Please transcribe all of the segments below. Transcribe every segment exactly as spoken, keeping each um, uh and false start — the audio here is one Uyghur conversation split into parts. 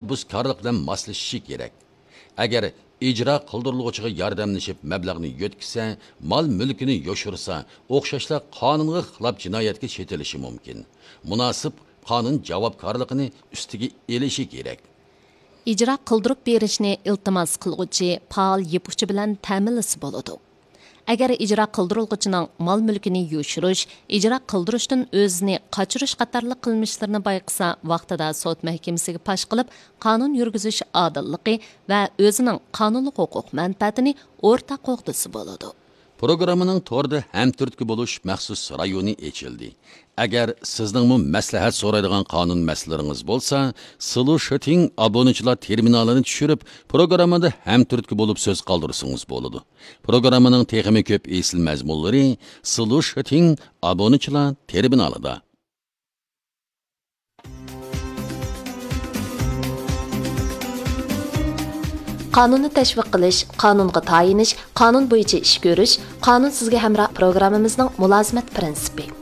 تەشەببۇسكارلىق بىلەن ماسلىشىشى كېرەك. ئەگەر ئىجرا قىلدۇرۇلغۇچىغا ياردەملىشىپ مەبلەغنى يۆتكىسە، مال مۈلكىنى يوشۇرسا، ئوخشاشلا قانۇنغا خىلاپ جىنايەتكە چېتىلىشى مۇمكىن. مۇناسىپ قانۇن جاۋابكارلىقىنى ئۈستىگە ئېلىشى كېرەك. ئىجرا قىلدۇرۇپ بېرىشنى ئىلتىماس قىلغۇچى پائال يىپ ئۇچى بىلەن تەمىنلىسە بولىدۇ. ئەگەر ئىجرا قىلدۇرۇلغۇچىنىڭ مال مۈلكىنى يوشۇرۇش، ئىجرا قىلدۇرۇشتىن ئۆزىنى قاچۇرۇش قاتارلىق قىلمىشلىرىنى بايقىسا، ۋاقتىدا سوت مەھكىمىسىگە پاش قىلىپ، قانۇن يۈرگۈزۈش ئادىللىقى ۋە ئۆزىنىڭ قانۇنلۇق ھوقۇق مەنپەئەتىنى ئورتاق قوغدىسا بولىدۇ. پروگراممىنىڭ توردا ھەمتۈرتكە بولۇش مەخسۇس رايونى ئېچىلدى. ئەگەر سىزنىڭمۇ مەسلىھەت سورايدىغان قانۇن مەسىلىلىرىڭىز بولسا، سلۇشىتىڭ ئابۇنىچىلار تېرمىنالىنى چۈشۈرۈپ، پروگراممىدا ھەمتۈرتكە بولۇپ سۆز قالدۇرسىڭىز بولىدۇ. پروگراممىنىڭ تېخىمۇ كۆپ ئېسىل مەزمۇنلىرى سلۇشىتىڭ ئابۇنىچىلار تېرمىنالىدا. قانۇننى تەشۋىق قىلىش، قانۇنغا تايىنىش، قانۇن بويىچە ئىش كۆرۈش، قانۇن سىزگە ھەمراھ پروگراممىمىزنىڭ مۇلازىمەت پىرىنسىپى.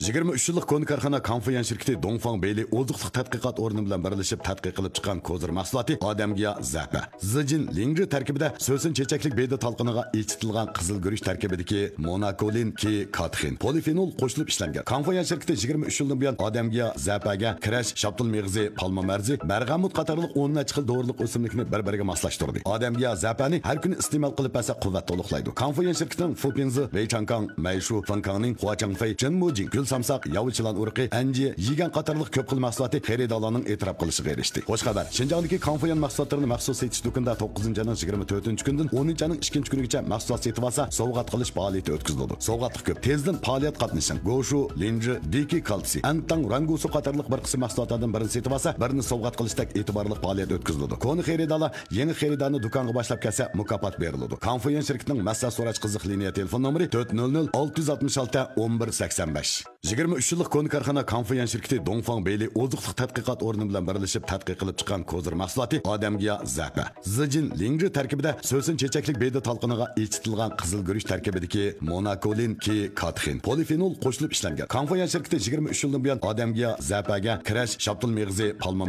يىگىرمە ئۈچ يىللىق كونا كارخانا كاڭفۇيۈەن شىركىتى دۇڭفاڭ بېيلى ئوزۇقلۇق تەتقىقات ئورنى بىلەن بىرلىشىپ تەتقىق قىلىپ چىققان كوزىر مەھسۇلاتى ئادەمگىياھ زەپە، زىجىن لىڭجى تەركىبىدە سۆسۈن چېچەكلىك بېدە تالقىنىغا ئېچىتىلغان قىزىل گۈرۈچ تەركىبىدىكى موناكولىن، كى كاتېخىن، پولىفېنول قوشۇلۇپ ئىشلەنگەن. كاڭفۇيۈەن شىركىتى يىگىرمە ئۈچ يىلدىن بۇيان ئادەمگىياھ زەپەگە كىرەش، شاپتۇل مېغىزى، پالما مەرزى، بەرغەمۇت قاتارلىق ئون نەچچە خىل دورىلىق ئۆسۈملۈكنى بىر-بىرىگە ماسلاشتۇردى. ئادەمگىياھ زەپەنى ھەر كۈنى ئىستېمال قىلىپ بەرسە، قۇۋۋەت تولۇقلايدۇ. كاڭفۇيۈەن شىركىتىنىڭ فۇپىنزى، ۋېيچاڭكاڭ، مەيشۇ، فېڭكاڭنىڭ، خۇاچاڭفېي، چېنمۇجىڭ، گۈل سامساق، ياۋا چىلان ئۇرۇقى، ئەنجى، يىگەن قاتارلىق كۆپ خىل مەھسۇلاتى خېرىدارلارنىڭ ئېتىراپ قىلىشىغا ئېرىشتى. خوش خەۋەر! شىنجاڭدىكى كاڭفۇيۈەن مەھسۇلاتلىرىنى مەخسۇس سېتىش دۇكىنىدا توققۇزىنچى ئاينىڭ يىگىرمە تۆتىنچى كۈنىدىن ئونىنچى ئاينىڭ ئىككىنچى كۈنىگىچە مەھسۇلات سېتىۋالسا، سوۋغات قىلىش پائالىيىتى ئۆتكۈزۈلىدۇ. سوۋغاتلىق كۆپ. تېزدىن پائالىيەت قاتنىشىڭ! گوشۇ، لىنجى، دىكى كالتسىي، ئەنتاڭ، رەنگۇسۇ قاتارلىق بىر قىسىم مەھسۇلاتلاردىن بىرنى سېتىۋالسا، بىرنى سوۋغات قىلىشتەك ئېتىبارلىق پائالىيەت ئۆتكۈزۈلىدۇ. كونا خېرىدارلار يېڭى خېرىدارنى دۇكانغا باشلاپ كەلسە، مۇكاپات بېرىلىدۇ. كاڭفۇيۈەن شىركىتىنىڭ مەسلىھەت سوراش قىزىق لىنىيە تېلېفون نومۇرى تۆت نۆل نۆل ئالتە يۈز ئاتمىش ئالتە ئون بىر سەكسەن بەش. يىگىرمە ئۈچ يىللىق كونا كارخانا كاڭفۇيۈەن شىركىتى دۇڭفاڭ بېيلى ئوزۇقلۇق تەتقىقات ئورنى بىلەن بىرلىشىپ تەتقىق قىلىپ چىققان كوزىر مەھسۇلاتى ئادەمگىياھ زەپە، زىجىن لىڭجى تەركىبىدە سۆسۈن چېچەكلىك بېدە تالقىنىغا ئېچىتىلغان قىزىل گۈرۈچ تەركىبىدىكى موناكولىن، كى كاتېخىن، پولىفېنول قوشۇلۇپ ئىشلەنگەن. كاڭفۇيۈەن شىركىتى يىگىرمە ئۈچ يىلدىن بۇيان ئادەمگىياھ زەپەگە كىرەش، شاپتۇل مېغىزى، پالما